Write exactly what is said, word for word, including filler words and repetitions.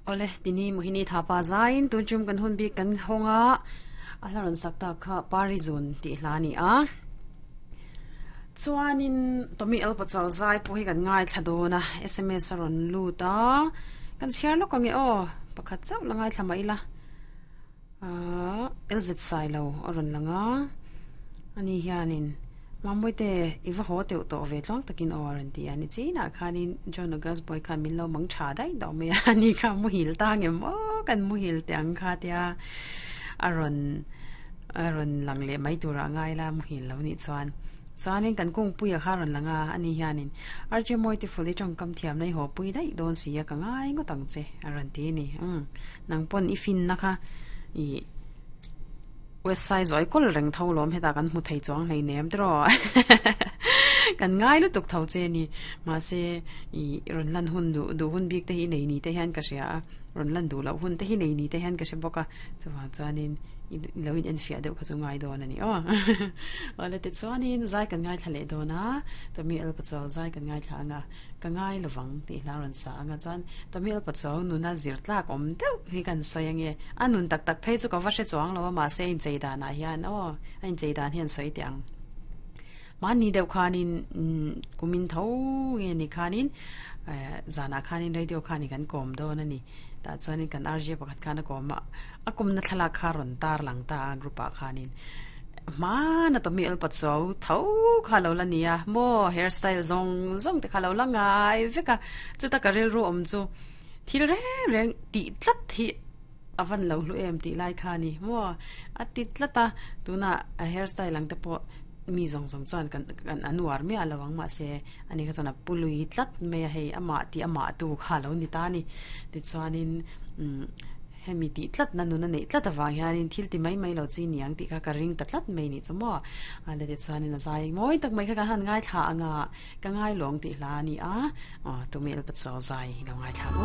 Ole tini mohini thapa zain tun chum kan hun bi kan honga a hlaron sakta kha parizun ti hlani a chuanin tomi el pachal zai pu hi kan ngai thladona sms ron luta kan chiar lo kange o pakhat chau langai thlama ila a lz sai lo aron langa ani hianin mamoite iwa ho teu to ve tlong takin o ran ti ani chi na khanin john august boy khan min lo mang tha dai do me ani kha mu hil ta ngem o kan mu hil tang kha tia aron aron lang le mai tura ngai la mu hil lo ni chuan chuanin kan kung puia kha ron langa ani hianin arje moi ti fuli tong kam thiam nei ho pui dai don sia ka ngai ngo tang che aron ti ni um nang pon i fin na kha i west side zoi kol reng tho lom heta kan mu thei chuang nei nem tro kan ngai lu tuk tho che ni ma se i ron lan hun du du hun bik te hi nei ni te hian ka ria ron lan du lo hun te hi nei ni te hian ka se boka chuwa chuanin lo in en fia deuh kha chu ngai don ani o wala te chuanin zai kan ngai thlale dona to mi el pachal zai kan ngai thla ka ngai lowang ti hla ron sa anga chuan to mi el pachal nuna zir tlak om deuh hi kan soyange anun tak tak phei chu ka va se chuang lo ma se in cheida na hian o in cheida hian soi tiang ma ni deuh khanin kumin tho nge ni khanin zana khanin radio khani kan kom don ani ta chuanin kan rj pakhat khana kom a kum na thlala kha ron tar lang ta group a khanin ma na to mi el patso tho kha lo la nia mo hairstyle zong zong te kha lo la ngai veka chu ta ka rel ru om chu thil re reng ti tlat hi avan lo lu em ti lai kha ni mo a ti tlata tuna a hairstyle lang te po mi zong zong chuan kan kan anuar mi alawang ma se ani kha chuan a pului tlat me hei ama ti ama tu kha lo ni ta ni ti chuanin hemi ti tlat na nuna nei tlat awang hianin thil ti mai mai lo chi niang ti kha ka ring ta tlat mai ni chumo a le ti chuanin a zai moi tak mai kha ka han ngai thla anga ka ngai long ti hla ni a a tu mel pa chaw zai lo ngai thla mu